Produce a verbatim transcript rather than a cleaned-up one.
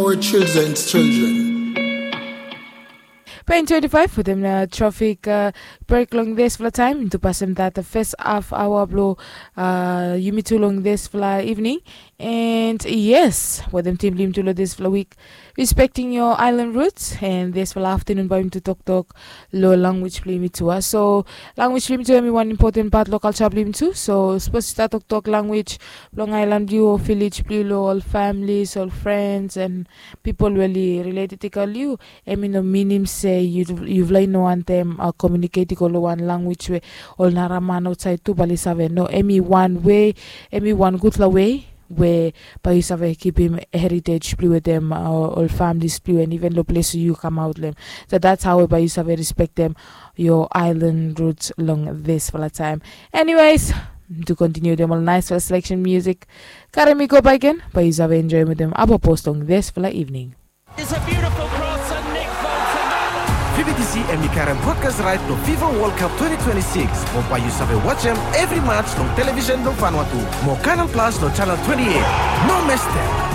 Our children's children. Pain twenty-five wetem trafik brek long disfala taem tu pasem dat fes haf aoa blong yumi tu long disfala ivning. And yes, wetem tim blong yumi tu long disfala wik, respecting your island roots. And disfala aftanun bae yumi tu toktok long lanwis blong yumi tu a so lanwis blong yumi tu em i wan impoten pat long kalja blong yumi tu. So sapos yu stat toktok lanwis blong aelan blong yu o vilej blong yu long ol familis, ol frens and pipol we oli rileted i go long yu, em i no minim se yufala i no wantem komiuniket i go long wan lanwis we ol nara man aotsaed tu bae oli save. No, em i wan wei, em i wan gudfala wei we bae yu save kipim heritej blong yu wetem ol familis blong yu and iven long ples we yu kamaot long em. So dats hao we bae yu save respektem yo aelan ruts long disfala taem. Eniwes, tu kontiniu wetem ol naesfala seleksen musik, karem i go bakegen bae yu save enjoem wetem abapos long disfala ivning. It's a beautiful cross and Nick Bolton. Vibitisi em i karem brodkas raet blong Fifa Wol Kap twenty twenty-six mo bae yu save wajem evri mats long televisen blong Vanuatu mo Kanal Plas long janel twenty-eight. No mestem.